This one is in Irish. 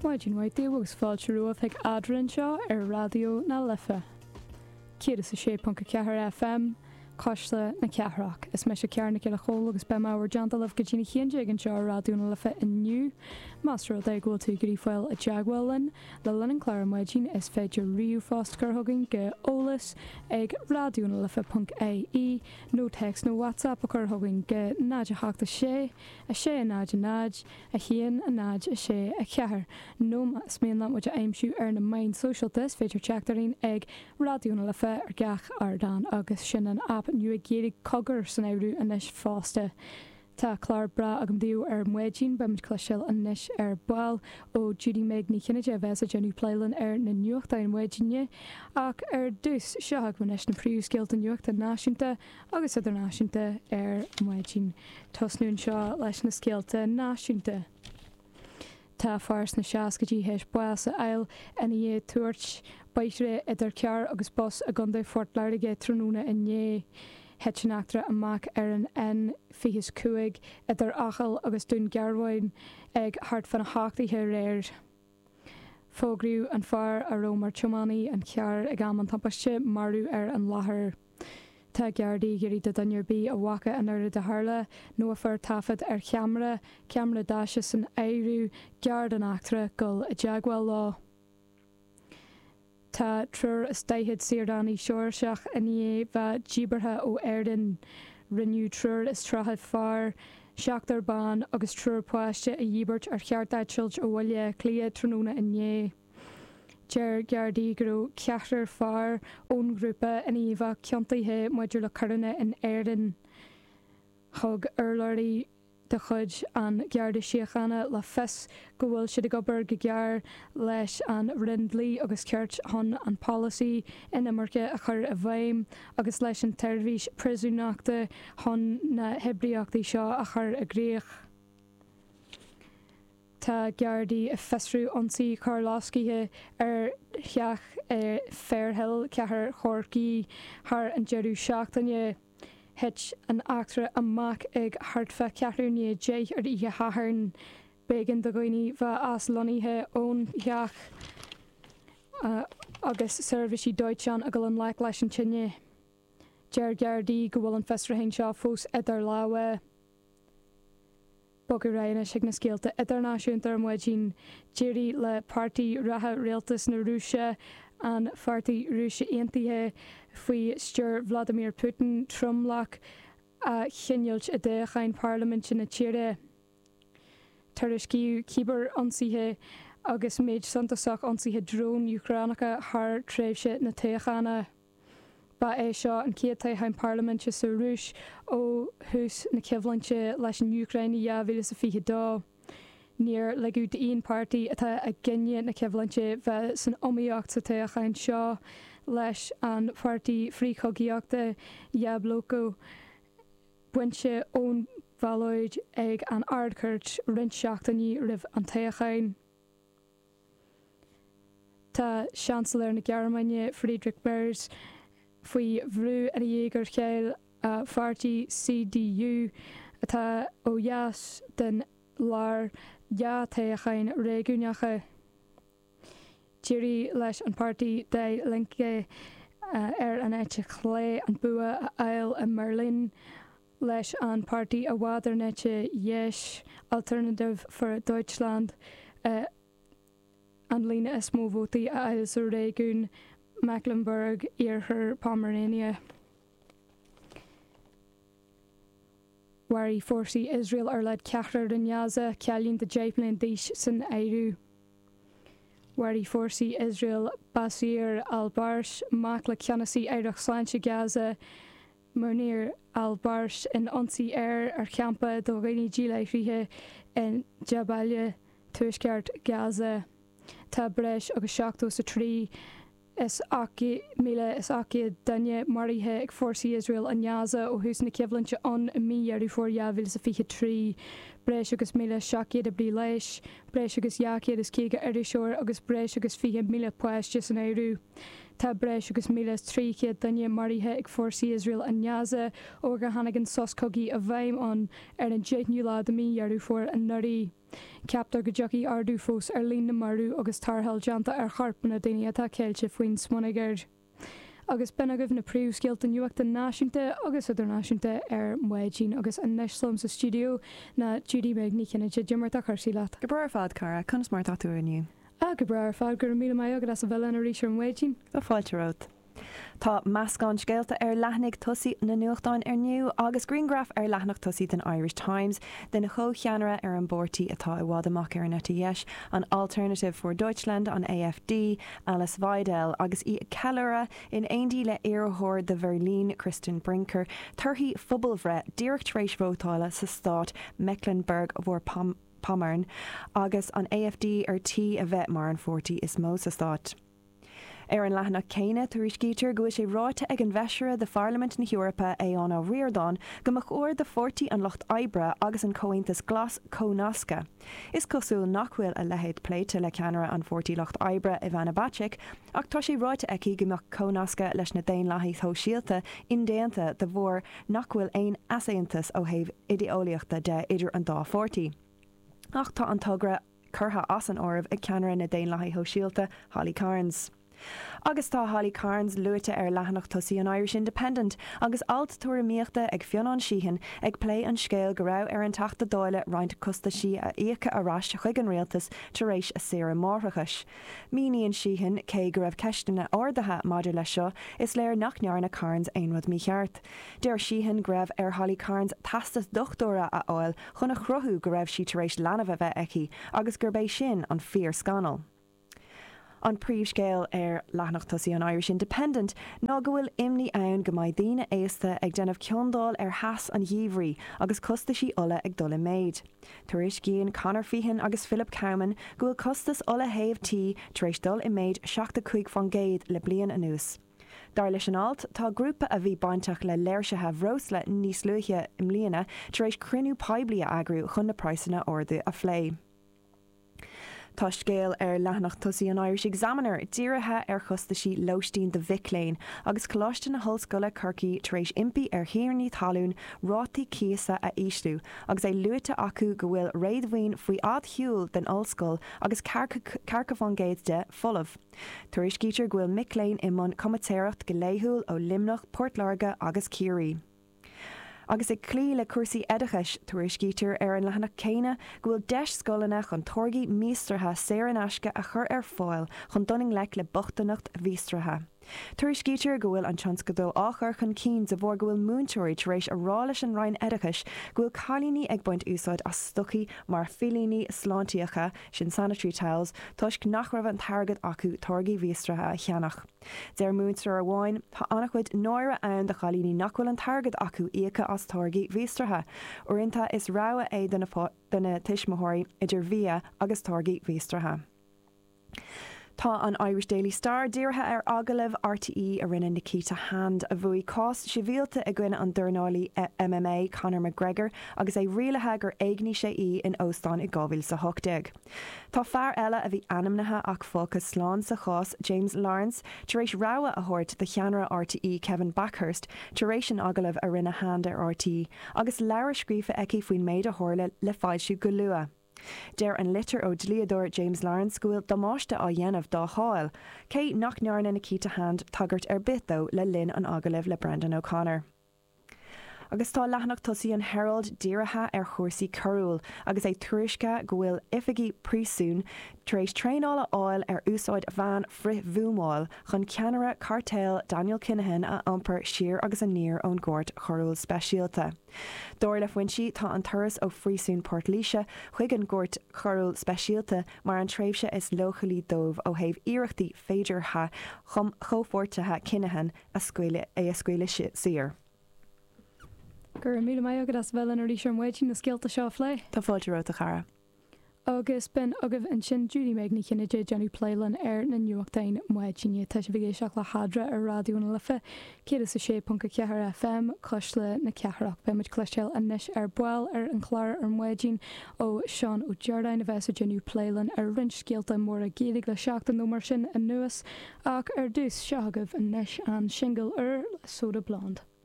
Maidin mhaith daoibh agus fáilte romhaibh chuig Eadrainn anseo ar Raidió na Life 106.4 FM, Cuisle na Cathrach. Is mise Ciara Nic Giolla Chóill agus beidh mé i bhur dteannta libh go dtí'n 11 anseo ar Raidió na Life inniu. Más rud é go bhfuil tú ag iarraidh fáil i dteagmháil linn le linn an chláir ar maidin is féidir ríomhphost a chur chugainn go eolas ag raidionalife.ie nó téacs nó WhatsApp a chur chugainn go 0 8 6 6 0 0 1 0 6 4 nó más mian leat muid a aimsiú ar na meáin sóisialta is féidir teacht orainn ag Raidió na Life ar gach ardán agus sin an aip nua Gaeilge Cogar san áireamh anois fosta. Tá clár breá agam daoibh ar maidin, beidh muid cloisteáil anois ar ball ó Judy Meg Ní Chinnéide a bheas ag déanamh plé linn ar na nuachtáin maidine. Ach ar dtús, seo agaibh anois na príomhscéalta nuachta náisiúnta agus idirnáisiúnta ar maidin. Tosnú anseo leis na scéalta náisiúnta. Tá fear sna seascaidí théis bás a fháil ina dhiaidh tuairt bóithre idir carr agus bus i gContae Phort Láirge tráthnóna inné. Thit an eachtra amach ar an N25 idir Acaill agus Dún Garbhán ag thart fána hocht oíche aréir. Fógraíodh an fear a raibh mar tiománaí an chairr ag am an tubaiste marbh ar an láthair. Tá Gardaí ag iarraidh do dhuine ar bith a bhfaca an rud a tharla nó a fuair taifead ar cheamara, ceamara daise san áireamh, gar don eachtra, dul i dteagmháil leo. Tá 140 saoránaigh Seoirseach i ndiaidh bheith díbeartha ó Éirinn. Rinneadh 130 fear, seachtar ban agus triúr páiste a dhíbirt ar chearteitilt ó Bhaile Átha Cliath tráthnóna inné. Deir Gardaí go raibh ceathrar fear ón ghrúpa i ndiaidh bheith ciontaithe maidir le coireanna in Éirinn. Thug urlabhraí de chuid an Gharda Síochána le fios go bhfuil siad ag obair go géar leis an Roinn Dlí agus Cirt chun an polasaí inimirce a chur i bhfeidhm agus leis an tSeirbhís Príosúnachta chun na hoibríochtaí seo a chur i gcrích. Tá Gardaí ag fiosrú ionsaí carrlosctha ar theach i Fairhill, Cathair Chorcaí, thar an deireadh seachtaine. Thit an eachtra amach ag thart fá cheathrú i ndiaidh 10 ar oíche Shathairn. B'éigean do dhaoine bheith aslonnaithe ón theach agus seirbhísí dóiteáin ag dul i ngleic leis an tine. Deir Gardaí go bhfuil an fiosrúchán seo fós idir lámha. Bogadh ar aghaidh anois chuig na scéalta idirnáisiúnta ar maidin. D'éirigh le páirtí reatha rialtas na Rúise, an Pháirtí Rúise Aontaithe faoi stiúir Vladimir Putin, tromlach a chinniúint i dtoghcháin parlaiminte na tíre. Tuairiscíodh cibear-ionsaithe agus méid suntasach ionsaithe drón Úcránacha thar tréimhse na toghchána. Ba é seo an chéad toghchán parlaiminte sa Rúis ó thús na coimhlinte leis an Úcráin i 2022. Níor ligeadh d'aon pháirtí atá i gcoinne na coimhlinte bheith san iomaíocht sa toghchán seo, leis an pháirtí frithchogaíochta Yabloko bainte ón bhallóid ag an Ard-Chúirt roinnt seachtainí roimh an toghchán. Tá Seansailéir na Gearmáine, Friedrich Merz, faoi bhrú ina dhiaidh gur chaill a pháirtí CDU, atá ó dheas den lár, 2 toghchán réigiúnacha. D'éirigh leis an páirtí Die Linke ar an eite chlé an bua a fháil i mBeirlín, leis an páirtí i bhfad ar an eite dheis, Alternative für Deutschland, an líon is mó vótaí a fháil sa réigiún Mecklenburg Iarthar Pomerania. Mharaigh fórsaí Iosrael ar a laghad ceathrar i nGaza, cailín de 10 mbliana d'aois san áireamh. Mharaigh fórsaí Iosrael Basir al-Barsh, mac le ceannasaí Aireacht Sláinte Gaza, Munir al-Barsh in ionsaí aeir ar champa do dhaoine díláithrithe i Jabalia, tuaisceart Gaza. Tá breis agus 73 is 1,700 duine maraithe ag fórsaí Iosrael i nGaza ó thús na coimhlinte ann i mí Dheireadh Fómhair 2023. Breis agus 1,700 oibrí leighis, breis agus 250 iriseoir agus breis agus 20,000 páiste san áireamh. Tá breis agus 1,300 duine maraithe ag fórsaí Iosrael i nGaza ó gur tháinig an sos cogaidh i bhfeidhm ann ar an 10ú lá de mhí Dheireadh Fómhair anuraidh. Ceaptar go dtiocfaidh ardú fós ar líon na marbh agus tarrtháil déanta ar choirpeanna daoine atá ceilte faoin smionagar. Agus b'in agaibh na príomhscéalta nuachta náisiúnta agus idirnáisiúnta ar maidin. Agus anois liom sa stiúideo ná Judy Meg Ní Chinnéide. Cad é mar atá cúrsaí leat? Go breá ar fad, cara. Conas mar atá tú inniu? Ah, go breá ar fad. Go raibh míle maith agat as a bheith linn arís ar maidin. Tá fáilte romhat. Tá meascán scéalta ar leathanaigh tosaigh na nuachtáin inniu agus grianghraf ar leathanach tosaigh den Irish Times den chomhcheannaire ar an bpáirtí atá i bhfad amach ar an eite dheis, an Alternative for Deutschland, an AfD, Alice Weidel, agus í ag ceiliúradh in éindí le iarrthóir do Bheirlín, Christian Brinker, torthaí phobalbhreith díreach tar éis vótála sa stát Mecklenburg-Vorpommern agus an AfD ar tí a bheith mar an pháirtí is mó sa stát. Ar an leathanach céanna, tuairiscítear go bhfuil sé ráite ag an bhFeisire de Pharlaimint na hEorpa, Aodhán Ó Ríordáin, go mba chóir do Pháirtí an Lucht Oibre agus an Comhaontas Glas comhnascadh. Is cosúil nach bhfuil a leithéid pléite le ceannaire an Pháirtí Lucht Oibre, Ivana Bacik, ach tá sé ráite aici go mbeadh comhnascadh leis na Daonlathaigh Shóisialta indéanta de bharr nach bhfuil aon easaontas ó thaobh idé-eolaíochta de idir an dá pháirtí. Ach tá an togra curtha as an áireamh ag ceannaire na Daonlathaithe Shóisialta, Holly Cairns. Agus tá Holly Cairns luaite ar leathanach tosaigh an Irish Independent agus alt tuairimíochta ag Fionán Sheehan ag plé an scéil go raibh ar an Teachta Dála roinnt costaisí a íocadh ar ais chuig an rialtas tar éis a saoire máithreachais. Míníonn Sheehan cé go raibh ceisteanna ardaithe maidir leis seo, is léir nach ndearna Cairns aon rud mícheart. Deir Sheehan go raibh ar Holly Cairns teastas dochtúra a fháil chun a chruthú go raibh sí tar éis leanbh a bheith aici agus gurb é sin an fíor-scannal. An príomhscéal ar leathanach tosaigh an Irish Independent ná go bhfuil imní ann go mbeidh daoine aosta ag déanamh ciondáil ar theas an gheimhridh agus costaisí ola ag dul i méid. Tuairiscíonn Conor Feehan agus Philip Cowman go bhfuil costas ola théamh tí tar éis dul i méid 75% le bliain anuas. Dar leis an alt, tá grúpa a bhí bainteach le léirsithe bhreosla níos luaithe i mbliana tar éis cruinniú poiblí a eagrú chun na praghsanna arda a phlé. Tá scéal ar leathanach tosaigh an Irish Examiner dírithe ar chostaisí lóistín do mhic léinn agus Coláiste na hOllscoile Corcaigh tar éis impí ar thiarnaí talún rátaí cíosa a ísliú agus é luaite acu go bhfuil réadmhaoin faoi fhad shiúil den ollscoil agus ceathracha fán gcéad de folamh. Tuairiscítear go bhfuil mic léinn i mbun comaitéireacht go laethúil ó Luimneach, Port Láirge agus Ciarraí. Agus ag cloí le cúrsaí oideachais, tuairiscítear ar an leathanach céanna go bhfuil deis scoileanna chun táirgí míostraithe saor in aisce a chur ar fáil chun dul i ngleic le bochtaineacht mhíostraithe. Tuairiscítear go bhfuil an tionscadal á chur chun cinn de bharr go bhfuil múinteoirí tar éis a rá leis an Roinn Oideachais go bhfuil cailíní ag baint úsáid as stocaí mar phillíní sláintíocha, sin sanitary towels, toisc nach raibh an t-airgead acu táirgí mhíostraithe a cheannach. Deir múinteoir amháin, Tá an-chuid náire ann do chailíní nach bhfuil an t-airgead acu íocadh as táirgí mhíostraithe. Uaireanta is rogha é do na tuismitheoirí idir bhia agus táirgí mhíostraithe. Tá an Irish Daily Star dírithe ar agallamh RTÉ a rinne Nikita Hand, a bhuaigh cás sibhialta i gcoinne an dornálaí MMA Conor McGregor agus é rialaithe gur éignigh sé í in óstán i 2018. Tá fear eile a bhí ainmnithe ach fágtha slán sa chás, James Lawrence, tar éis rabhadh a thabhairt do cheannaire RTÉ Kevin Bakhurst tar éis an agallaimh a rinne Hand ar RTÉ agus leabhar scríofa aici faoin méid a tharla le foilsiú go luath. Deir an litir ó dhlíodóir James Lawrence go bhfuil damáiste á dhéanamh dá cháil, cé nach ndearna Nikita Hand tagairt ar bith dó le linn an agallaimh le Brendan O'Connor. Agus tá leathanach tosaigh an Herald dírithe ar chúrsaí coiriúil agus é tuairiscithe go bhfuil oifigigh príosúin tar éis traenáil a fháil ar úsáid veain frith-bhuamáil chun ceannaire cairtéil Daniel Kinahan a iompar siar agus aniar ón gCúirt Choiriúil Speisialta. Dar le foinsí tá an turas ó phríosún Port Laoise chuig an gCúirt Choiriúil Speisialta mar an tréimhse is leochailí dóibh ó thaobh iarrachtaí féideartha chomhpháirtithe Kinahan a scaoileadh é a scaoileadh saor. Go raibh míle maith agat as a bheith linn arís ar maidin na scéalta seo a phlé. Tá fáilte romhat a chara. Agus b'in agaibh ansin Judy Meg Ní Chinnéide ag déanamh plé linn ar na nuachtáin maidine. Tá sibh ag éisteacht le hEadra ar Raidió na Life 106.4 FM, Cuisle na Cathrach. Beidh muid cloisteáil anois ar ball ar an chlár ar maidin ó Seán Ó Direáin a bheas ag déanamh plé linn ar roinnt scéalta móra Gaeilge le seachtain nó mar sin anuas. Ach ar dtús, seo agaibh anois an singil úr le Soda Blonde.